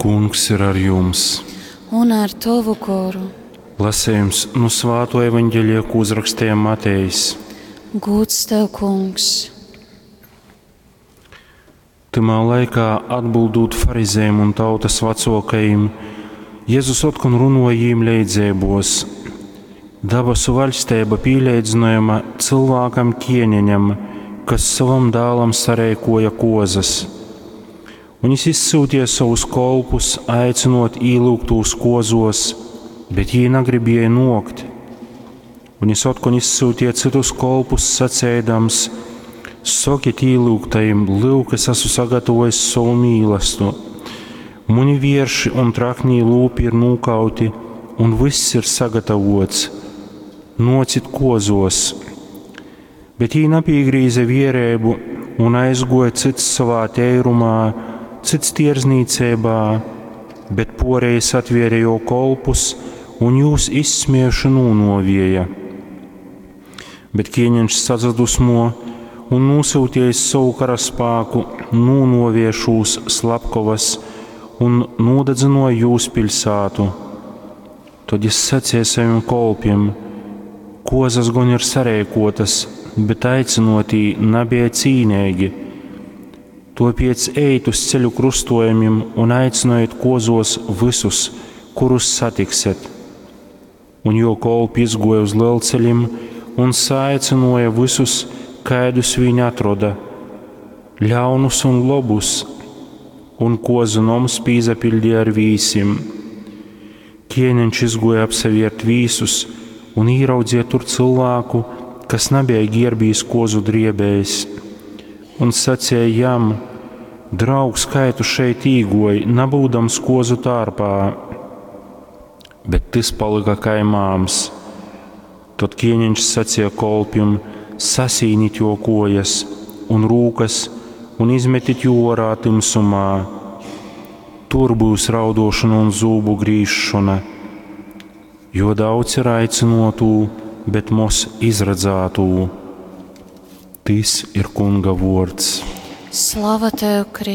Kungs ir ar jums! Un ar tovu goru. Lasējums nu Svāto evaņģelija, ko uzrakstīja Matejs. Gūds tev, kungs! Tymā laikā, atbildūt farizējiem un tautas vecākajiem, Jēzus otkon runoja jīm leidzeibos. Dabasu vaļstība pīleidzinojama cilvēkam ķieneņam, kas savam dēlam sareikoja kozas. Un jis izsūtīja savus kolpus, aicinot īlūgtūs kozos, bet jī nagribēja nokt. Un jis otkon izsūtīja citus kolpus, sacēdams: Sokiet īlūgtajiem, lūk, es esmu sagatavojis savu mīlestu. Muni vierši un traknī lūpi ir nūkauti, un viss ir sagatavots. Nocit kozos. Bet jī napīgrīze vierēbu un aizgoja cits savā teirumā, cits tirzniecībā, bet porējs atvērja jo kolpus un jūs izsmiejuši nūnovieja. Bet ķieņeņš sadzadusmo un nosūtījis savu karaspāku, nūnovie šūs slapkovas un nodedzinoja jūs pilsētu. Tad jis sacīja saviem kolpiem: Kozas gan ir sareikotas, bet aicinotī nebija cīnīgi. Topiec ejit uz ceļu krustojumiem un aicinojiet kozos visus, kurus satiksiet. Un jo kolpi izgoja uz lielceļiem un saicinoja visus, kaidus viņi atroda, ļaunus un lobus, un kozu noms pīzapildīja ar vīsim. Ķēniņš izgoja apseviert vīsus un ieraudzīja tur cilvēku, kas nebija ģērbījis kozu driebējs, un sacīja jam: Draugs, kā tu šeit īgoji, nabūdams kozu tārpā? Bet tas palika kā māms. Tad ķēniņš sacīja kolpim: Sasīnit jo kojas un rūkas un izmetit jū orā timsumā. Tur būs raudošana un zūbu grīzšana, jo daudz ir aicinotū, bet mos izredzētū. Tis ir kunga vords. Slava tev, Kristus!